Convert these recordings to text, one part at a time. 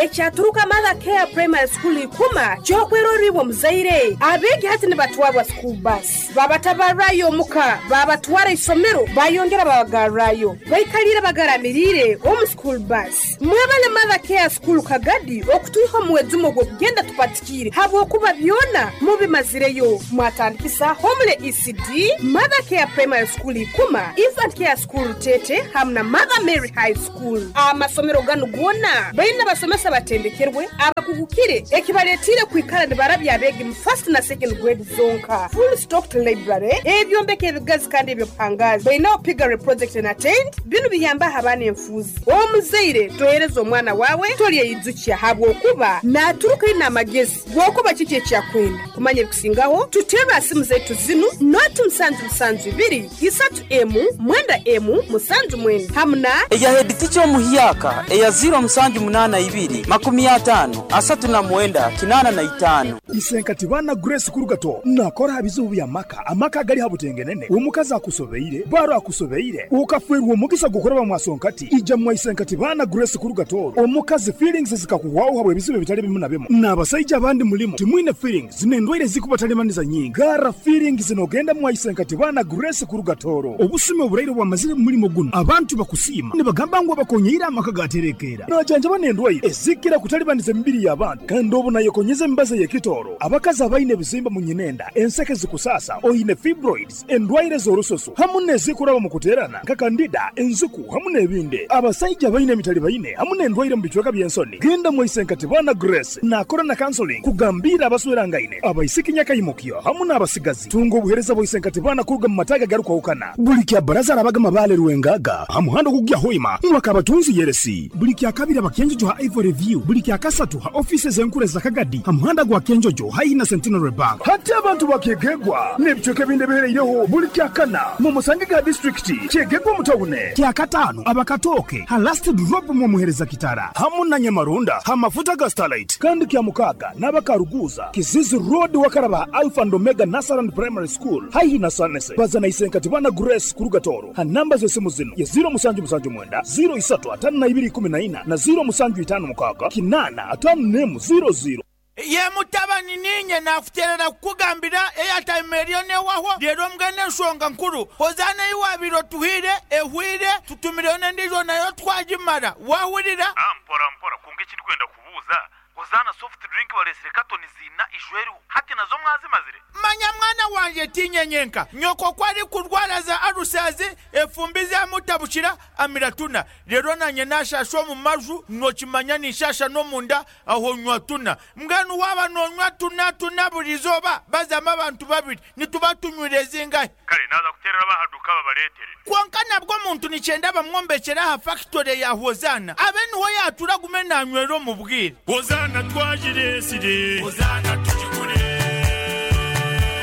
Ekyaturuka Mother Care Primary School Ikuma ky'okwerorra iwe omuzaire. Abeegi hati nibatwarwa school bus, babatabarrayo omuka, babatwara isomero, bayongera babagarrayo. Baikaliire bagaramiriire omu school bus. Mwebale Mother Care School Kagadi okutwiha omu mwejumo ogw'okugenda tupatikiire habwokuba byona mubimazireyo. Mwatandikisa Homely ECD, Mother Care Primary School Ikuma, Infant Care School Rutete hamu na Mother Mary High School. Amasomero ganu goona baine abasomesa abatendekerwe abakugukire ekibaletiire kwikara nibarabya abeegi mu first na second grade zonka. Full stocked library, ebyombeko ebigazi kandi eby'obuhangaazi. Baineho piggery project na tent, binu biyambaho abaana enfuuzi. Omuzaire tohereza omwana waawe tolyeyijukya habwokuba naaturuka aine amagezi g'okuba kiki eki akwenda. Kumanya ebikusingaho tuterre ha simu zaitu zinu, noti musanju musanju ibiri, isatu emu, mwenda emu, musanju mwenda hamu na. Eya heditica omuhyaka eya ziiro musanju munaana ibiri, makumi ataano, asatu na mwenda, kinaana na itaano. Isenkati baana Grace Kurugato nakora ha bizibu by'amaka, amaka agali ha butengenene, omukazi akusobeire, baro akusobeire, okafwerwa omugisa gw'okuraba mwa Sonkati, ija mwa Isenkati baana Grace Kurugato, omukazi feelings zikakuhwaho habw'ebizibu ebitali bimu na bimu, n'abasaija abandi mulimu timwine feelings n'endwaire ezikubatalibaniza nyingi. Garra feelings n'ogenda mwa Isenkati baana Grace Kurugatoro. Obusumi oburaire obwamazire mu mulimo guno, abantu bakusiima nibagamba ngu abakonyeire amaka gaterekeera. Najanjaba n'endwaire ezikira kutalibaniza emibiri y'abantu kandi obu nayekonyeza emibazi ey'ekitooro. Abakazi abaine ebizimba mu nyinenda, enseke zikusaasa, oine fibroids, endwaire z'orususu hamu n'ezikuraba mu kuteerana nka kandida, enziku hamu n'ebindi. Abasaija abaine emitalibaine hamu n'endwaire mu bicweka by'ensoni, genda mwa Isenkatibana Grace naakora na counseling kugambiira abaswerangaine, abaisiki nyakaimukyo hamu n'abasigazi. Tunga obuheereza bwa Isenkatibana kuruga mu mataagi agarukwahukana. Buli kya Baraza arabaga Mabaale Rwengaga ha muhanda ogukugya Hoima mwaka Abatunzi Yeresi. Buli kya Kabiri aba Kyenjojo ha Ivory View. Buli kya Kasatu ha ofiisi ez'enkuru eza Kagadi ha muhanda gwa Kyenjojo haihi na Centenary Bank. Hati abantu ba Kyegegwa n'ebicweka ebindi ebihereireho buli kya Kana mumusangege ha disiturikiti Kyegegwa omu tawune. Kya Kataano aba Katooke ha Last Drop mwomuhereza Kitara hamu na Nyamarunda ha mafuta ga Starlight. Kandi kya Mukaaga n'aba Karuguuza, Kizizi Road wakaraba ha Alpha and Omega Nursery and Primary School haihi na Sanese. Baza na Isenkatibana Grace kuruga Tooro ha namba z'esimu zinu ye ziiro musanju musanju mwenda, ziiro isatu ataano na ibiri ikumi na ina na ziiro musanju itaano mukaaga kinaana ataano n'emu ziiro ziiro. Ye mutabani, niinye naakuteerera kukugambira eyataima eriyo n'ehwaho. Reero mbwenu enshonga nkuru, Hozaana ei waabaire otuhaire ehwaire, tutumireyo n'endiijo nayo twagimara. Waahurira? Mpora mpora, kwonka eki ndikwenda kubuuza, Hozaana soft drink bareetsire katoni ziina ijweriho, hati nazo mwazimazire? Manya mwana wangye, tiinye nyenka. Nyoko ku arikurwara za alusazi, efumbi zamutabukira, amira tuna. Reero naanye naashaasha omu maju, nookimanya ninshaasha n'omunda, aho nywa tuna. Mbwenu waaba noonywa tuna tuna buri izooba, bazamu abantu babiri, nituba tunywire zingahi? Kare naaza kuteerera ab'aha duuka babareetere. Kwonka nabwo omuntu nikyenda bamwombekyere aha fakitore ya Hozaana, abe niho yaatura agume naanywera omu bwire. Hozaana twagireetsire. Hozaana tugigure.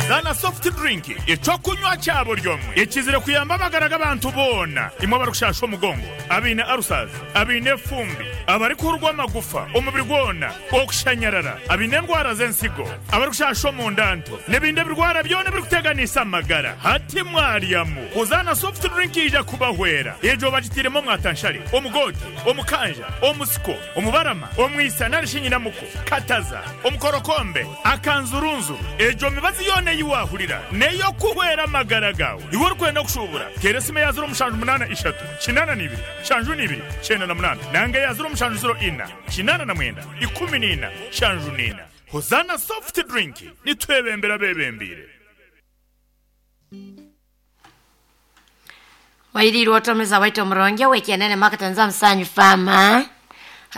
Hozaana soft drink, eky'okunywa kya buri omwe ekizire kuyamba amagara g'abantu boona, imwe abarikushaasha omugongo, abaine ulcers, abaine efumbi, abarikuhurwa amagufa omubiri gwona, okushanyarara, abaine endwara z'ensigo, abarikushaasha omunda nto, n'ebindi ebirwara byona ebirikuteganisa amagara. Hati mwaryamu Hozaana soft drink yaija kubahwera. Egyo bagitairemu omwatanshare, omugoote, omukanja, omusiko, omubarama, omwisa nari shi nyinamuko, kataza, omukorokombe, akanzurunzuru. Egyo mibazi yoona ei waahurira n'ey'okuhwera amagara gaawe. Iwe orikwenda kushuubura, teera esimu eya ziro mushanju munaana ishatu, kinaana na ibiri, nshanju na ibiri, kyenda na munaana nanga eya ziro mushanju ziro ina, kinaana na mwenda, ikumi na ina, nshanju na ina. Hozaana Soft Drink, nitwebembera abeebembeire. Wairiirwe otomeza waita omuronge wekianene makatanza msanyu fama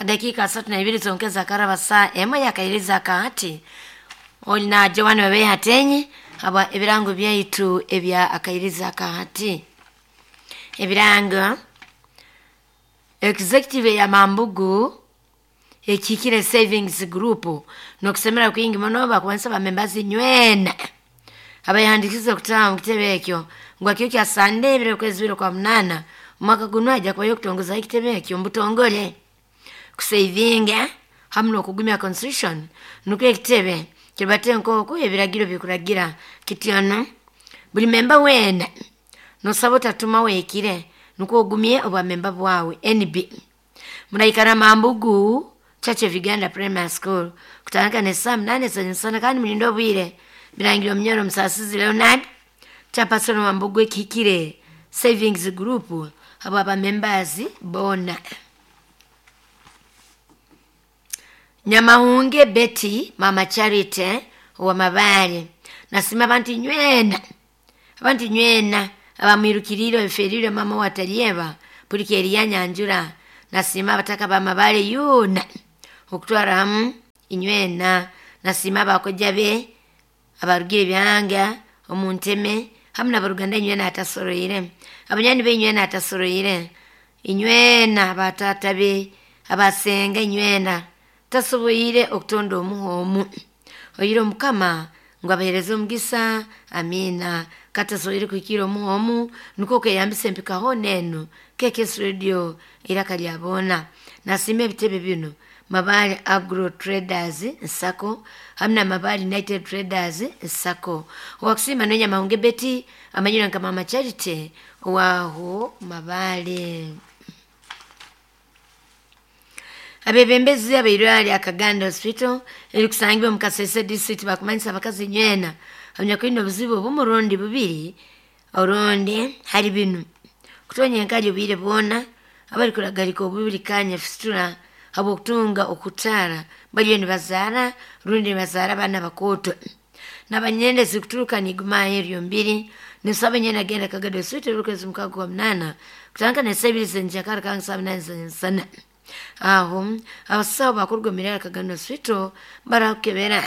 dakika asatu na ibiri zongeza karaba saa ema yakairiza kaati olina Joan webe hatenyi aba ebirango byaitu ebya akairiza kaati ebirango executive ya Mambugu ekikire savings group nokusemera kwingi muno bakubanisa bamembazi nywena abayihandikize okutaba mu kitebe ekyo ngu akio kya Sande ebiro kwezi bibiri kwa munana omwaka guno ajja kubayo okutongoza ekitebe ekyo mubutongole kusavinga hamu n'okugumya constitution nukwo ekitebe kiribate nk'oku ebiragiro bikuragira kityono buli memba weena nosaba otatuma weekire nukwo ogumye obwamemba bwawe. NB muraikara Mambugu Church of Uganda Primary School kutandika ne saa 8 z'emisana kandi mulinde obwire. Birangirwa Munyoro Musasizi Leonard, chairperson wa Mbogwe Kikire Savings Group, abo abamembers bona. Nyamahunge Betty, Mama Charity wa Mabale, nasima abantu nywena, abantu nywena abamwirukirire eferire mama watalieba pulikeri yanyanjura. Nasima abataka ba Mabale yuna okutwara hamu inywena. Nasima abakoja be abarugire byanga omunteme hamu n'abaruganda inywena atasoroire, abanyani be inywena atasoroire, inywena abatata be abasenga inywena tasoboire okutonda omuhomu oyire omukama ngu abahereze omugisa. Amina. Katasoboire kuhikira omuhomu nukwo kweyambisa empika hona enu KKS Radio iraka lya bona. Nasima ebitebe bino: Mabale Agro Traders Nsako hamwe na Mabale United Traders Nsako. Owakusima nonya Mahunge Betty amanyira nka Mama Charity waho Mabale. Abebembezi abairwari Akaganda Hospital erikusangibwa mu Kasese District bakumanyisa abakazi nywena abanyakwine obuzibu obw'omurundi bubiri orundi hari binu: kutonya enkali obwire bwona, abari kuragarika obubiri kanya fistula, habwokutunga okutara bariyo nibazaara rundi nibazaara abaana bakooto, n'abanyende zikuturuka nigumayo eryo mbiri. Nisaba nyene agenda Kagado Hospital okwezi 6 8 kutandika ne 2 zenjakara kangi 7 zenyensana. Aho abasawo bakurugomera Kagano Hospital barakukebera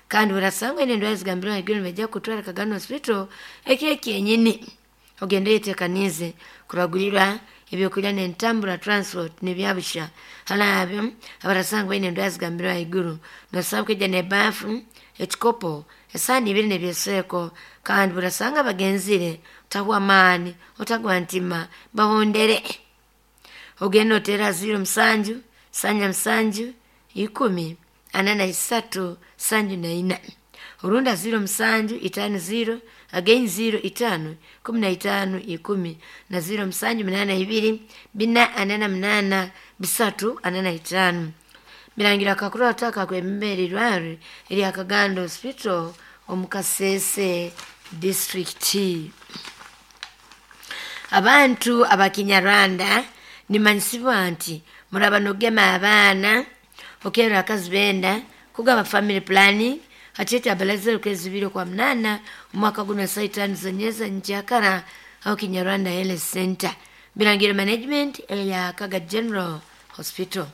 kandi barasanga endwara zigambirwa haiguru nibajya kutwara Kagano Hospital ekiro kyenyini ogende yetekanize kuragurirwa ebyokurya n'entambura transport nibyabusha. Halaabyo abarasanga baine endwara zigambirwa haiguru nosaba kwija n'ebafu, ekikopo, esaani ibiri n'ebyeseeko. Kandi burasanga bagenzire otahwa amaani, otagwa ntima, bahondere. Ogenda otera 0 7 7 10 43 74 orunda 0 7 5 0 again 0 5 15 10 na 0 7 8 2 4 48 3 45. Birangira kakuru ataka kwembere irwaro erya Kagando Hospital omu Kasese District. Abantu abakinyarwanda nimanyisibwa nti muraba nogema abaana okera akazi benda kugaba family planning hachete abalaze okwezi 2 kwa 8 omwaka guno saa 5 zenyeza njakara aho Kinyarwanda Health Center. Birangira management ya Kaga General Hospital.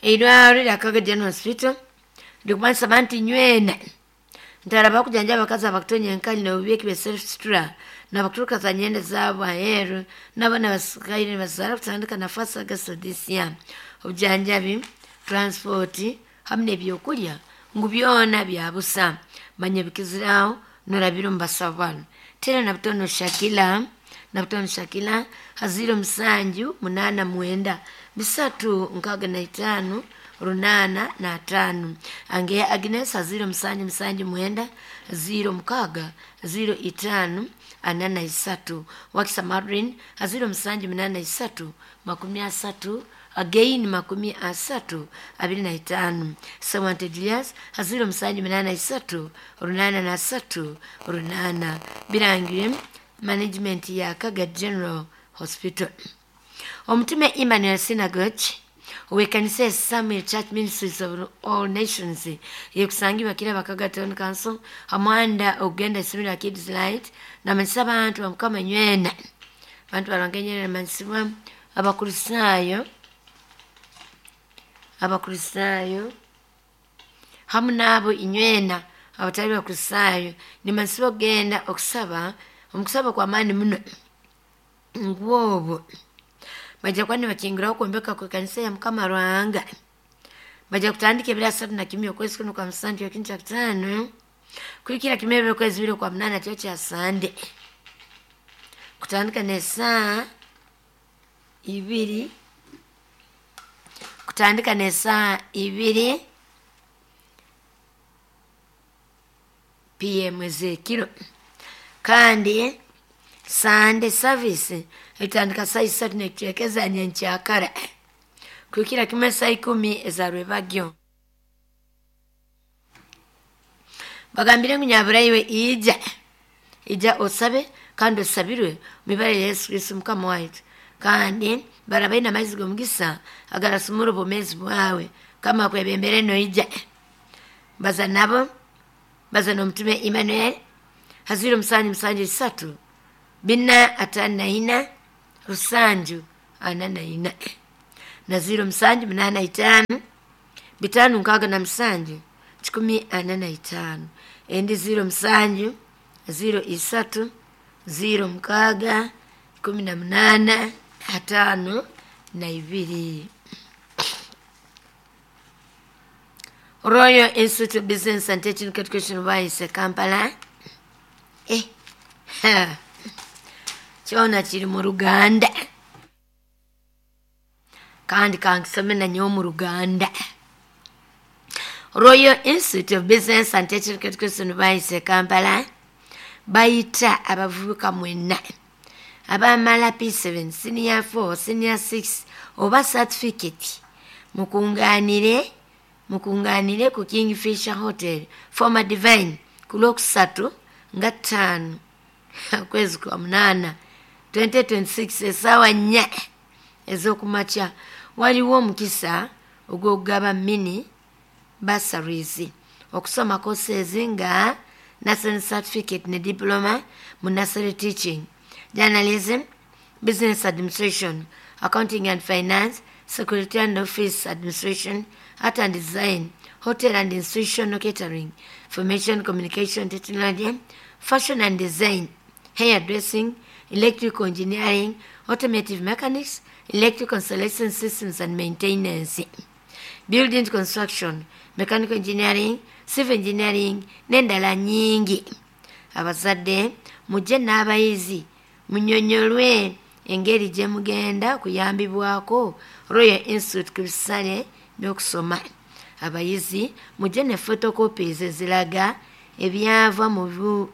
Eirwaro lya Kaga General Hospital likumanisa abantu nywena ntaraba kujanja abakazi abakutonya enkali nobubi be self-stura nabakuturuka za nyende zaabo aheeru n'abaana basikaire nibazaara kutandika nafasi August this year. Obujanjabi, transport hamwe n'ebyokurya ngu byona byabusa. Manya bikiziraho norabira omu basawo banu: tera na butono Shakila, na butono Shakila ha 0 7 8 9 3 65 805. Angeya Agnes ha 0 7 7 9 0 6 0 5 43. Wakisa Madrin ha 0 7 8 3 30 again 30 25. Sawante Julius ha 0 7 8 3 8 3 8. Birangire management ya Kaga General Hospital. Omutume Emmanuel Synagogue owekanisa ya Samuel Church Ministries of All Nations yekusangibwa Kiraba Kaga Town Council hamwanda okugenda isomero lya Kids Light namanyisa abantu bamukama nywena abantu barangenyera namanyisibwa abakristaayo, abakristaayo hamu n'abo inywena abatali bakristaayo nimanyisibwa okugenda okusaba omukusaba kw'amaani muno ngwobwo bajja kuba nibakingiraho okwombeka kw'ekanisa ya Mukama Ruhanga. Bajja kutandika ebiro 31 okwezi kuno kwa 7 ekindi kya 5 kuhikira kimwe ebiro okwezi 2 kwa 8 kyo kya Sande kutandika n'esaa 2 kutandika n'esaa 2 pm ez'ekiro. Kandi Sunday service etandika saa 3 n'ekicweka nyenkyakara. Kuhikira kimwe saa 10 ezarwebagyo. Bagambire ngu nyaburaiwe ija. Ija osabe kandi osabirwe mibare ya Yesu Kristo Mukama waitu. Kandi barabaina amaizi g'omugisa agarasumura obwomeezi bwawe kama kwebembere noija. Baza nabo, baza n'omutume Emmanuel haziro 773 454 744 na 0785 567 145 endi 07 03 06 18 52. Royal Institute of Business and Technical Education Vice Kampala. Kyona kiri mu Ruganda. Kandi kankisome na nyowe mu Ruganda. Royal Institute of Business and Technical Education Vice Kampala bayita abavubuka mwenna abamala P7, senior 4, senior 6 oba certificate mukunganire ku Kingfisher Hotel former Divine ku Lwokusatu nga 5 kwezi kwa 8 2026 essaawa 4 ez'okumakya. Waliwo omukisa ogw'okugaba mini bursaries okusoma courses nga national certificate ne diploma mu nursery teaching, journalism, business administration, accounting and finance, security and office administration, art and design, hotel and institutional catering, information communication technology, fashion and design, hair dressing, electrical engineering, automotive mechanics, electrical installation systems and maintenance, building construction, mechanical engineering, civil engineering n'endala nyingi. Abazadde mujje n'abayizi munyonyolwe engeri gye mugenda kuyambibwako Royal Institute ku bisale by'okusoma. Abayizi mujje ne photocopies eziraga ebyava mu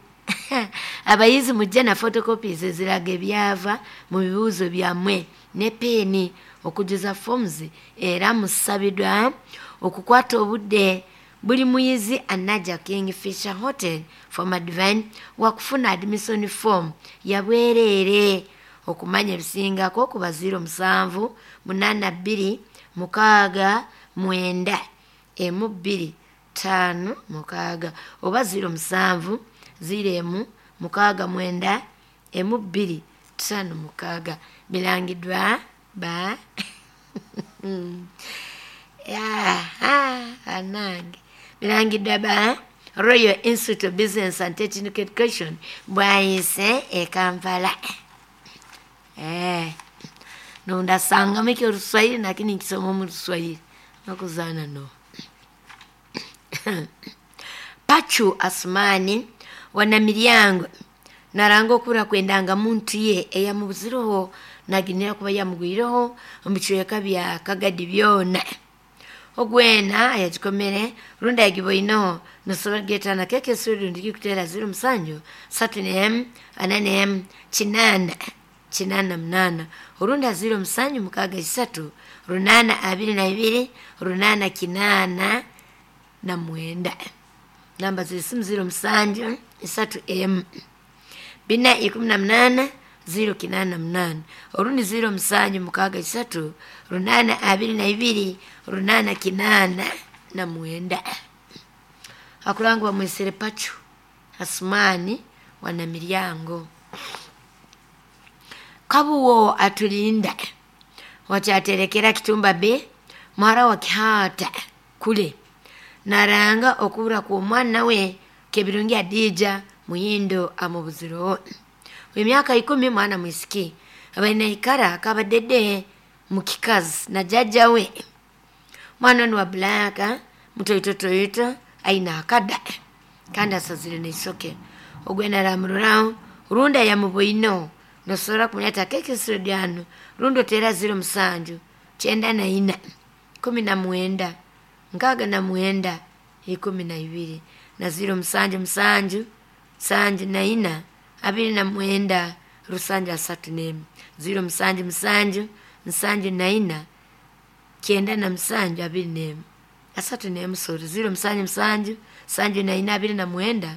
abayizi mujje na photocopies eziraga ebyava mu bibuuzo byammwe ne peeni okujuza forms, era musabiddwa okukwata obudde. Buli muyizi anajja Kingfisher Hotel former Divine wakufuna admission form yabwereere. Okumanya ebisingako ku ba 07 82 6 9 12 5 6 oba 07 01 6 9 12 5 6. Bilangiddwa ba anange bilangiddwa ba Royal Institute of Business and Technical Education bwayise e Kampala. Nundasanga miki Oluswahili lakini nkisoma mu Luswahili nakuzana no. Pachu Asmani wana naranga okura kwendanga muntu ye eyamubuzireho naginira kuba yamugwireho omucweka bya Kagadi byona. Ogwena ayagikomere runda yagiboino nosobola getana keke suri ndiki kutera 07 3 4 8 8 8 urunda 07 6 3 8 22 8 9 9. Namba z'esimu 07 3 4 18 0 8 orundi 07 6 3 8 22 8 9. Akulangwa bamwesere Pachu Asmani wana Miryango. Kabuwo atulinda wachaterekera Kitumba be mwara wa Kihata kule naranga okubura ku mwana we Kebirungi Adija Muhindo amubuziro emyaka 10 mwana mwisiki abaina ikara akabadede mukikazi na jaja we. Mwana ni wa blaka mutoitotoito aina akada kandi asazire neisoke ogwena ramururao runda ya muboino nosora kumuleta keke studiano rundo tera 07 94 19 69 12 na 07 7 7 4 29 rusanja 34 07 7 7 4 97 21 31 sorry 077 74 29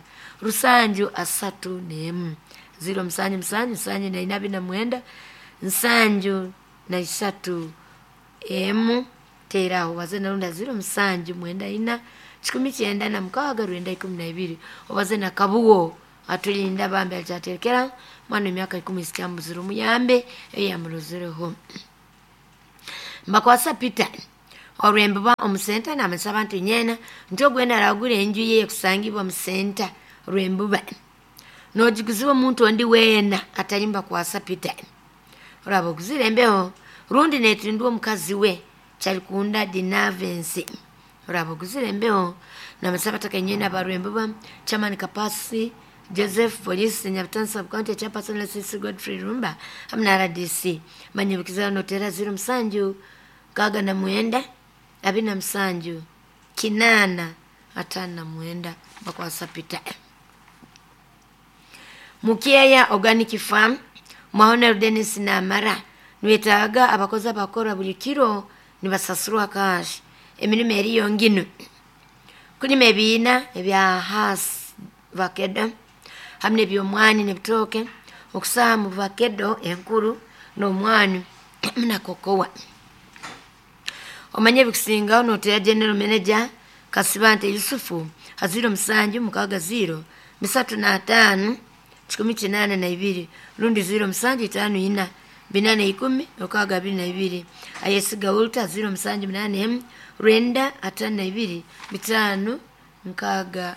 731 077 74 29 73 emu teraho waze narunda 07 94 906 12 obaze na kabugo atulinda bambe alyaterekera mwana emyaka 10 sikyambuzira omuyambe eyamurozereho. Mbakwasa Peter olwembuba omusenta namusaba nti nyena nti ogwena aragura enju ye kusangibwa musenta rwembuba nogiguziwa omuntu ondi weena atali Mbakwasa Peter oraba oguzire embeho rundi netindwa omukazi we Kyarikunda Dinavensi oraba oguzire embeho. Namusaba takenyena barwembuba Chairman Kapasi Joseph Police Nyabitansi Sub County Chairperson LCC Godfrey Rumba hamwe na RDC manyibukiza notera 07 69 27 8 59 Mbakwasa Peter. Mukeya Organic Farm Mwahonero Dennis Namara nwetaaga abakozi abakora buli kiro nibasasurwa cash emirimo eriyo nginu kulima ebiina ebya has vakedo hamwe nebyomwani nebitooke okusaha mu vakedo enkuru n'omwani na kokowa. Omanye ebikusingaho notera general manager Kasibante Yusufu ha 07 60 35 182 rundi 07 54 810 622. Ayesiga Walter 07 8 Rwenda 52 5 64.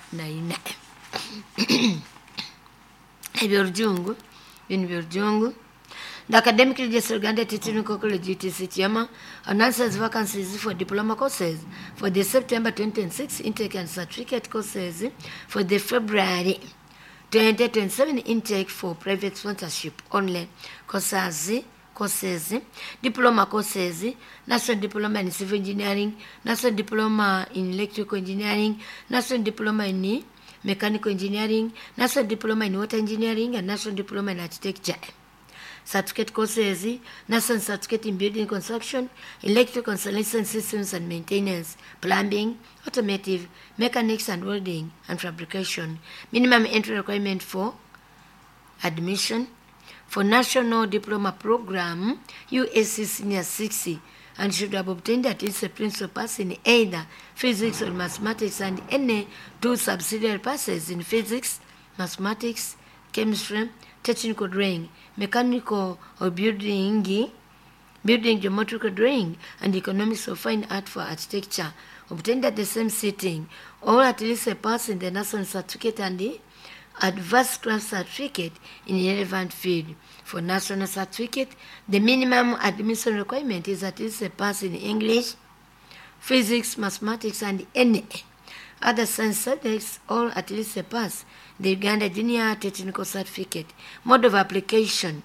Ebyorujungu bino byorujungu. The Academic Registrar Uganda Technical College UTC Kiama announces vacancies for diploma courses for the September 2026 intake and certificate courses for the February 2027 intake for private sponsorship only. Courses, diploma courses, national diploma in civil engineering, national diploma in electrical engineering, national diploma in mechanical engineering, national diploma in water engineering, and national diploma in architecture. Certificate courses, national certificate in building construction, electrical installation systems and maintenance, plumbing, automotive, mechanics and welding and fabrication. Minimum entry requirement for admission for National Diploma Program, USC Senior 60, and should have obtained at least a principal pass in either physics or mathematics and any two subsidiary passes in physics, mathematics, chemistry, technical drawing, mechanical or building geometrical drawing, and economics or fine art for architecture, obtained at the same sitting, or at least a pass in the national certificate and the advanced craft certificate in the relevant field. For national certificate, the minimum admission requirement is at least a pass in English, physics, mathematics, and any other science subjects, or at least a pass the Uganda Junior Technical Certificate. Mode of application.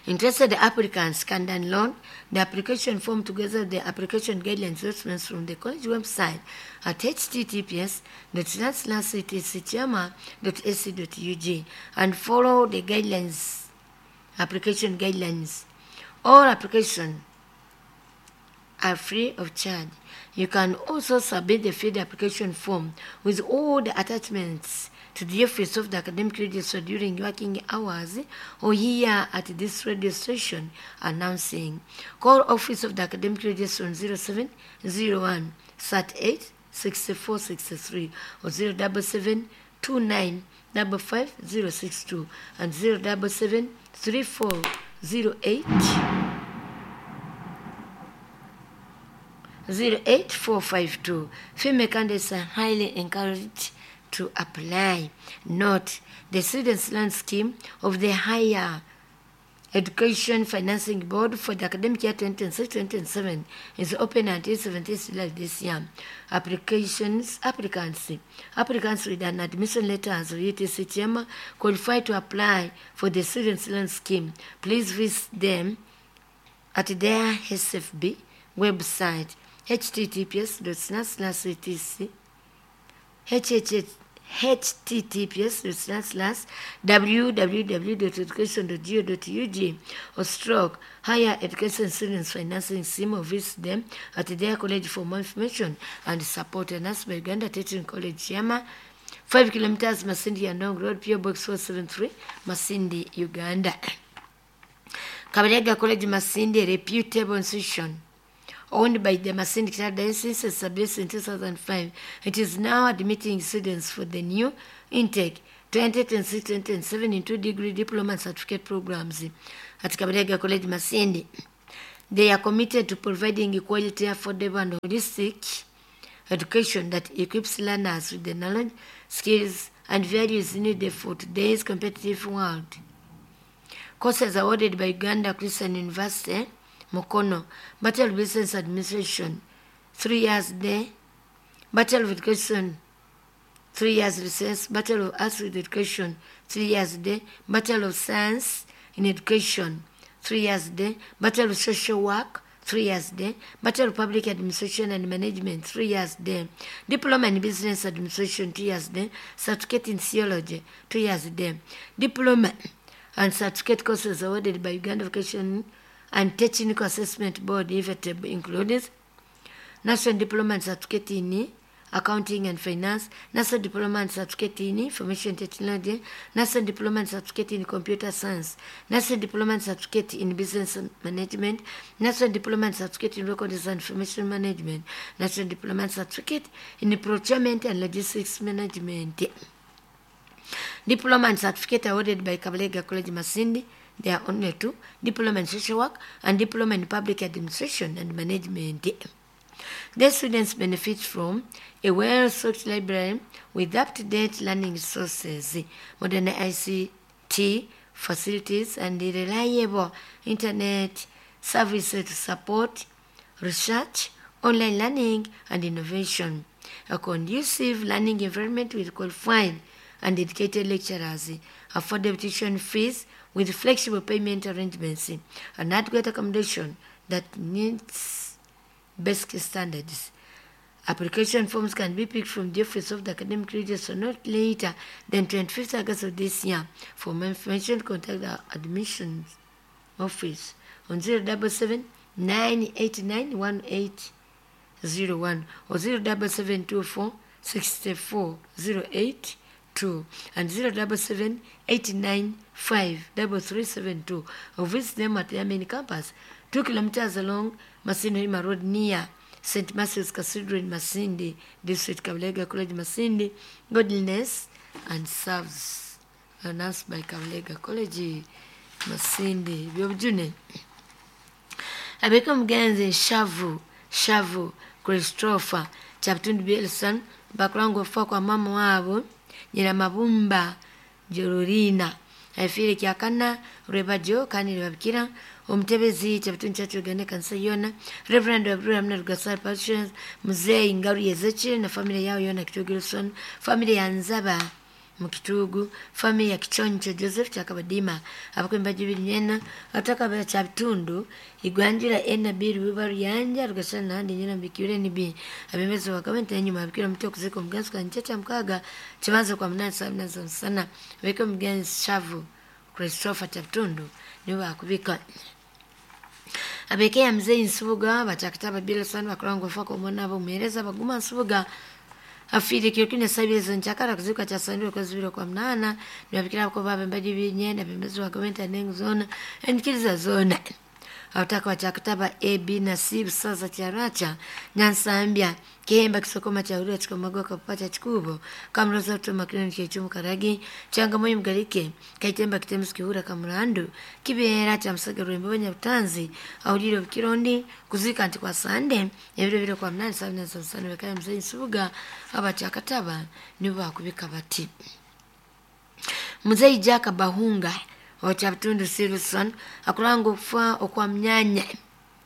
Interested applicants can download the application form together with the application guidelines documents from the college website at https://ctcchiama.ac.ug and follow the guidelines, application guidelines. All applications are free of charge. You can also submit the filled application form with all the attachments to the office of the academic registrar during working hours or here at this radio station announcing. Call office of the academic registrar on 0701 38 64 63 or 077 29 55 062 and 077 34 08 08452. Female candidates are highly encouraged to apply. Note, the Students' Loan Scheme of the Higher Education Financing Board for the academic year 2026-2027 is open until 17th July this year. Applicants with an admission letter as UTC Chairman qualify to apply for the Students' Loan Scheme. Please visit them at their SFB website https://etc https www.education.go.ug or stroke higher education students financing scheme, or visit them at their college for more information and support. Announced by Uganda Teaching College Chama, 5 kilometers Masindi Yandong Road, PO Box 473, Masindi, Uganda. Kabalega College Masindi, a reputable institution owned by the Masindi Diocese, established in 2005. It is now admitting students for the new intake 2026-2027 into degree, diploma and certificate programs at Kabalega College Masindi. They are committed to providing quality, affordable and holistic education that equips learners with the knowledge, skills and values needed for today's competitive world. Courses awarded by Uganda Christian University, Mukono: Bachelor of Business Administration, 3 years day; Bachelor of Education, 3 years recess; Bachelor of Arts with Education, 3 years day; Bachelor of Science in Education, 3 years day; Bachelor of Social Work, 3 years day; Bachelor of Public Administration and Management, 3 years day; Diploma in Business Administration, 2 years day; Certificate in Theology, 2 years day. Diploma and certificate courses awarded by Uganda Vocation and Technical Assessment Board, IVETEB, included National Diploma and Certificate in Accounting and Finance, National Diploma and Certificate in Information Technology, National Diploma and Certificate in Computer Science, National Diploma and Certificate in Business Management, National Diploma and Certificate in Records and Information Management, National Diploma and Certificate in Procurement and Logistics Management. Diploma and certificate awarded by Kabalega College Masindi, there are only two: Diploma in Social Work and Diploma in Public Administration and Management. The students benefit from a well-stocked library with up-to-date learning resources, modern ICT facilities, and reliable internet services to support research, online learning, and innovation. A conducive learning environment with qualified and dedicated lecturers, affordable tuition fees with flexible payment arrangements, and adequate accommodation that meets basic standards. Application forms can be picked from the office of the academic registrar not later than 25th August of this year. For more information, contact the admissions office on 077 989 1801 or 07724 64 082 and 077 895 3372, or visit them at their main campus, 2 kilometers along Masindi Road near St. Matthew's Cathedral in Masindi District. Kabalega College Masindi, godliness and serves. Announced by Kabalega College Masindi. Byobujune. Abeka omugenzi Shavu Shavu Christopher Kyabitundu Bielson bakulanga okufa kwa mama waabo Nyina Mabumba Jororina afiire kyakana rwebajo kandi nibabikira omutebezi Kyabitundu Church Uganda kanisa yona, Reverend Abraham na Rugasari Patricians, Muzeyi Ngaru Yezekire na family yao yona Kitugu Wilson, family ya Nzaba Mukitugu, family ya Kichoncho Joseph Kyakabadima, abakwemba jibiri nyena ataka Kyabitundu igwanjira ena biri wibaru yanja rugasana nandi nyina mbikire nibi abemezi wa gavumenti enyuma abikira mutwe kuzika omugenzi kwa nchecha mkaga chibanza kwa munani saa munani za msana. Abika omugenzi Shavu Christopher Kyabitundu niwe bakubika. Abekeya mzee Nsubuga bakyakitaba Bilson bakulanga ofa komona abo muhereza baguma Nsubuga afire kirokine sabirizo nchakara kuzika cha sandiro kwa zibiro kwa mnana nibabikira ko babe mbaji binyenda bemezi wa gavumenti anengu zona enkiriza zona abataka bakyakitaba A B na C busaza kyaracha Nyansambya Kihemba Kisokoma cha Chikomagoka kupata Chikubo Kamroza Tuma Kinoni Kyechumu Karagi Changamoyo Mgalike Kaitemba Kitemusi Kihura Kamurandu Kibeera cha Musaga Rwembe Nyabutanzi Auliro Kirondi kuzika nti kwa Sande ebiro biro kwa mnani saa nane za msana bekaya mzee Nsubuga abakyakataba nibo bakubika bati. Mzee Jack Bahunga wa Kyabitundu Silson akulanga okufa okwa mnyanya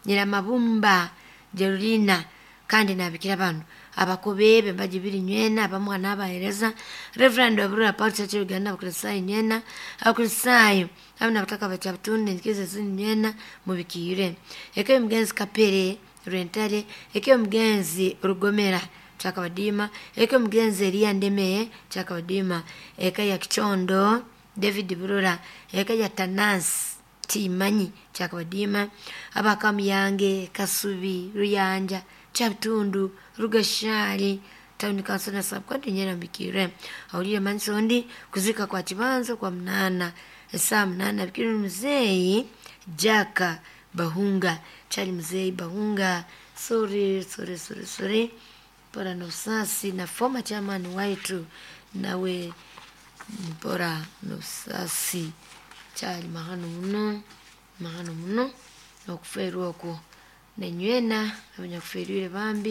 Nyina Mabumba Jerulina kandi nabikira bano abakobebe mbajibiri nywena abamwana abahereza Reverend Abrura Paul Church Uganda abakristayo nywena abakristayo abana bataka ba Kyabitundu nkize zini nywena mubikire eke mugenzi Kapere Rentale eke mugenzi Rugomera Chakabadima eka mugenzi Elia Ndemeye Chakabadima eka ya Kichondo David Burura eka ya Tanasi Timanyi Chakabadima abakamuyange Kasubi Ruyanja Chabutundu Rugashali Town Council na subcounty Nyerambikire awulire mansondi kuzika kwa Chibanzo kwa mnana saa mnana bikiri mzee Jaka Bahunga Chali mzee Bahunga sorry sorry sorry sorry bora nusasi na former chairman waitu nawe bora nusasi chali mahano muno mahano muno okuferwa okwo nenywena abanyakuferwire bambi.